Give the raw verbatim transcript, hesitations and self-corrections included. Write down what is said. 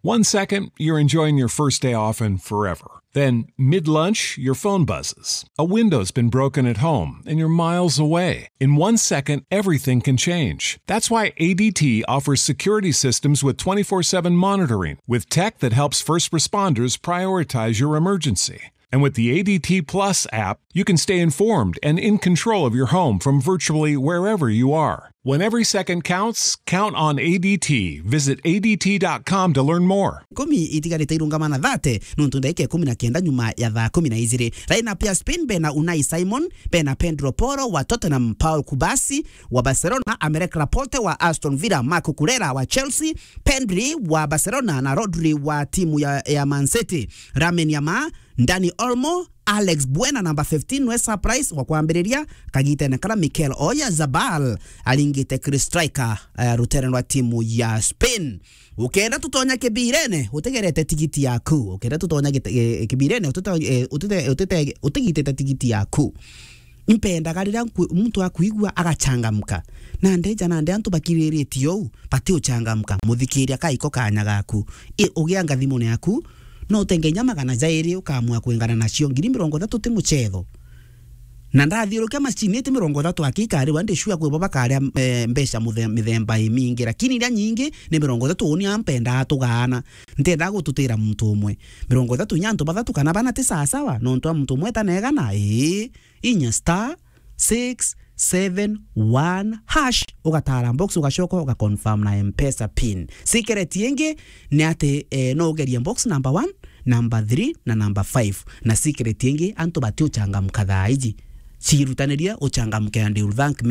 One second, you're enjoying your first day off and forever. Then, mid lunch, your phone buzzes. A window's been broken at home and you're miles away. In one second, everything can change. That's why A D T offers security systems with twenty-four seven monitoring, with tech that helps first responders prioritize your emergency. And with the A D T Plus app, you can stay informed and in control of your home from virtually wherever you are. When every second counts, count on A D T. Visit A D T dot com to learn more. Kumi itigarite irungama na thate, nontu ndagika ikumi na kenda nyuma ya thaa kumi na ijiri. Line up ya Spain bena Unai Simon, bena Pedro Porro wa Tottenham, Paul Kubasi wa Barcelona, Aymeric Laporte wa Aston Villa, Marc Cucurella wa Chelsea, Pedri wa Barcelona na Rodri wa timu ya, ya Man City. Lamine Yamal, Dani Olmo, Alex Baena namba fifteen nwe surprise wa kwambiriria kagitene kara Mikel Oyarzabal aringite kiri striker, eh, rutere rwa timu ya Spain. Ukenda tutonya kibirene, utegerete tigiti yaku. Ukenda tutonya gite-, eh, kibirene, utute-, eh, utute-, utute-, utigitite tigiti yaku. Impendaga riria nkwi-, muntu akwigua agachangamka. Na ndeja nandi antu bakiriritie ou, bati uchangamka. Muthikiria kaiko kanya gaku. I, ugia ngathimone yaku, no utenge inya magana jairi ukamua kwingana nacio. Ngiri mirongo ithatu ti muchetho. Na ndathiurukia macini ti mirongo ithatu aki ikariwa, ndi sure kwi bo bakaria, eh, mbeca muthe-, mithemba imingi. Lakini iria nyingi ni mirongo ithatu, uni ampendaa tugaana. Ntiendaa gututira muntu umwe. Mirongo ithatu inya antu bathatu kana bana ti sawasawa, nontu a muntu umwe etanegana, ii. Inya star six seven one hash, ugatara box, ugacoka ugaconfirm na M-Pesa pin. Secret ingi ni ati, eh, no ugerie box number one, number three na number five. Na secret ingi, antu bati uchangamka thaa iji. Ciirutanirie uchangamke and you'll thank me.